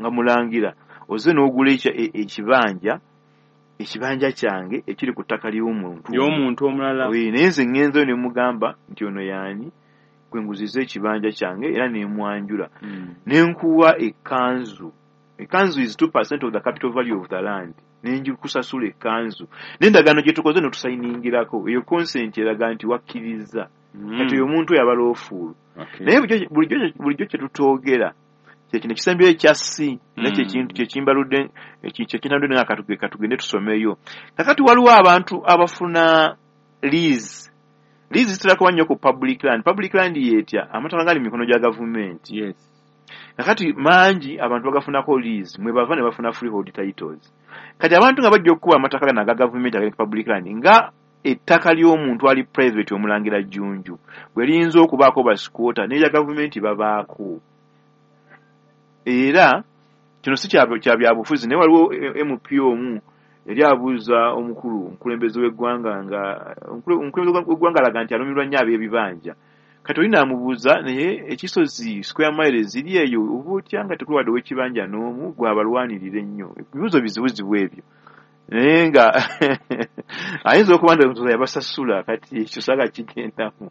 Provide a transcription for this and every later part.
Nga mulangira oze n'ogula ekibanja kyange ekiri ku ttaka ly'omuntu y'omuntu omulala. Naye nze ŋŋenzeyo ne mugamba nti ono yaani gwe nguziza ekibanja kyange, era nemwanjula nenkuwa ekkanzu. Ekkanzu is 2% of the capital value of the land. Nenjikusasula ekkanzu n'endagaano gye tukoze netusayiningirako. Eyo consent eraga nti wakkiriza. Kati oyo omuntu oyo aba lawful. Naye bulijjo kye tutoogera kyekino ekisembyeyo ekya C era kyekintu kyekimbaludde, kyekintandudde nga katugende tusomeyo. Kakati waliwo abantu abafuna lease. Lease zitera kuba nnyo ku public land. Public land yetya amataka gali mu mikono gya gavumenti. Kakati mangi abantu bagafunako lease, mwe bava ne bafuna freehold titles. Kati abantu nga bajja okukuba amataka gano aga gavumenti agali ku public land, nga ettaka ly'omuntu ali private, omulangira Jjunju, bwe liyinza okubaako ba squatter, n'erya gavumenti babaako. Era kino si kya byabufuzi, naye waliwo MP omu yali abuuza omukulu omukulembeze w'eggwanga, nga omukulembeze w'eggwanga alaga nti alumirwa nnyo ab'ebibanja. Kati oli n'amubuuza, naye ekisozi square miles ziri eyo, oba otya nga tekuli wadde ow'ekibanja n'omu gwabalwanirira ennyo? Ebibuuzo bizibuzibu ebyo, naye nga ayinza okuba nti yabasasula. Kati ekyo saga kigendamu.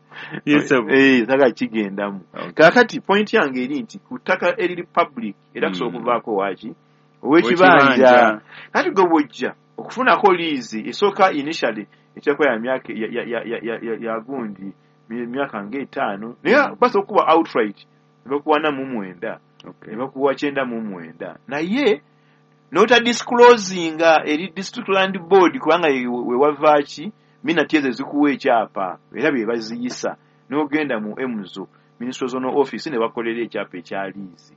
Saga kigendamu. Kaakati point yange eri nti ku ttaka eriri public era kusobola okuvaako waaki ow'ekibanja. Kati gwe bw'ojja okufunako liizi esooka, initially ekyakuba ya myaka ya gundi, myaka ng'etaano, naye basobola okukuba outright ne bakuwa 49, ne bakuwa 99, naye n'otadisclosinga eri District Land Board, kubanga wewava ki minati ezo ezikuwa ekyapa era bye baziyisa. N'ogenda mu MZO, Ministry Zonal Office, ne bakolera ekyapa ekya liizi.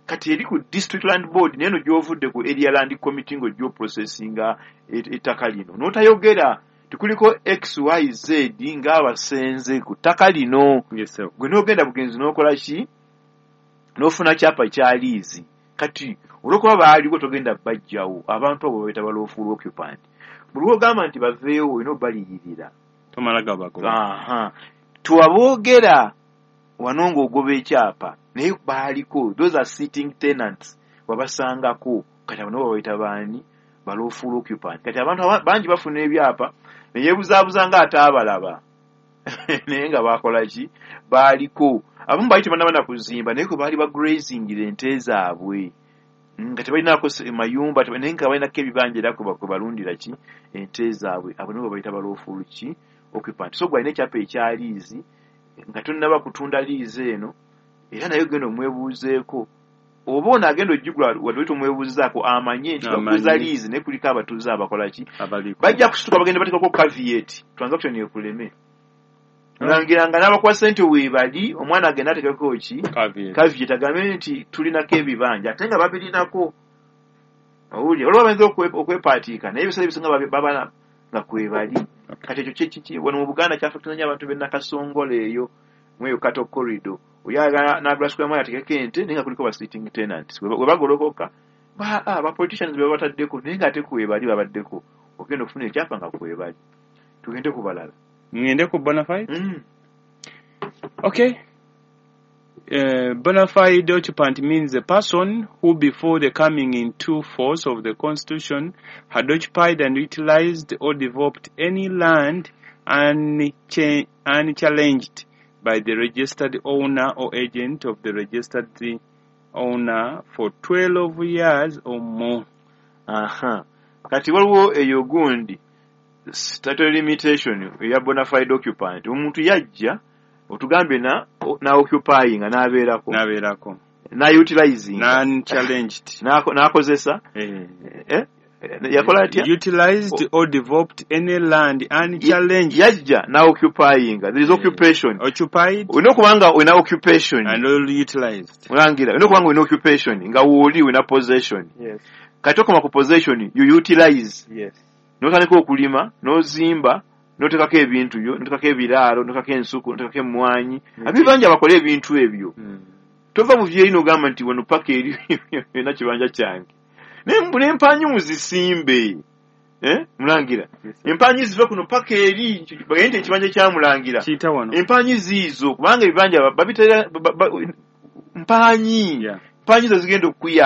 Kati eri ku District Land Board, naye no gy'ovudde ku Area Land Committee ng'ojja oprocessinga ettaka lino, n'otayogera tikuliko XYZ ng'abasenze ku ttaka lino, gwe n'ogenda bugenzi n'okola ki, n'ofuna kyapa kya liizi. Kati olw'okuba baaliwo, togenda bajjawo. Abantu abo babayita ba lawful occupant. Buli lw'ogamba nti baveewo, olina obaliyirira. Tomala gabagoba. Aha, tewaboogera wano ng'ogoba ekyapa, naye baaliko. Those are sitting tenants, wabasangako. Kati abo nabo babayita baani? Ba lawful occupant. Kati abantu bangi bafuna ebyapa neyebuzaabuza nga ate abalaba, naye nga bakola ki? Baaliko. Abamu baali tebannaba kuzimba, naye kwe baali bagrazingira ente zaabwe, nga tebalinako mayumba, naye nga balinako ebibanja era kwe balundira ki ente zaabwe. Abo nabo babayita ba lawful ki occupant. So gwalina ekyapa ekya liizi nga tonnaba kutunda liizi eno, era naye genda omwebuuzeeko oba ono agenda ogigula, wadde tomwebuuzaako, amanye nti bakuza liizi naye kuliko abatuuze abakola ki? Abaliko. Bajja kusituka bagenda bateekako caveat, transaction ekuleme. Olangira nga n'abakuwa ssente weebali, omwana agenda ateekako ki? Caveat. Caveat, agambe nti tulinako ebibanja, ate nga babirinako. Owulira, waliwo abayinza okwepaatiika, naye ebiseera ebisinga baba nga kwebali. Kati ekyo wano mu Buganda kyaffectinga nnyo abantu b'e Nakasongola eyo, mweyo Cattle Corridor. Oyagala n'agula square mile ateekeko ente, naye nga kuliko ba sitting tenants. We bagolokoka, ba politicians be babataddeko, naye ng'ate kwebali babaddeko. Ogenda okufuna ekyapa nga kwebali. Tugende ku balala. Ngende ku bonafide. Okay. Bona fide occupant means a person who, before the coming into force of the Constitution, had occupied and utilized or developed any land unchallenged by the registered owner or agent of the registered owner for 12 years or more. Aha. Kati waliwo eyo gundi statutory limitation eya bona fide occupant. Omuntu yajja otugambye na occupying, n'abeerako, Nabeerako. Na utilizing, Unchallenged. N'akozesa. Eh. Eh? Yakola atya? Utilized or developed any land unchallenged. Yajja na occupying, there is occupation. Occupied Olina okuba nga olina occupation and all utilized. Olangira, olina okuba nga olina occupation, nga wooli olina possession. Kati okoma ku possession, you utilize. N'otandika okulima, n'ozimba, n'oteekako ebintu byo, n'oteekako ebiraalo, n'oteekako ensuku, n'oteekako emmwanyi. Abibanja bakole ebintu ebyo. Tova mu vyeri n'ogamba nti wano paka eri yonna kibanja kyange, n'empanyi muzisimbe. Eh? Mulangira, empanyi zive kuno paka eri, bagende nti ekibanja kya mulangira. Kiyita wano. Empanyi ziizo, kubanga ebibanja babitera mpanyi. Mpanyi zo zigenda okukuyamba.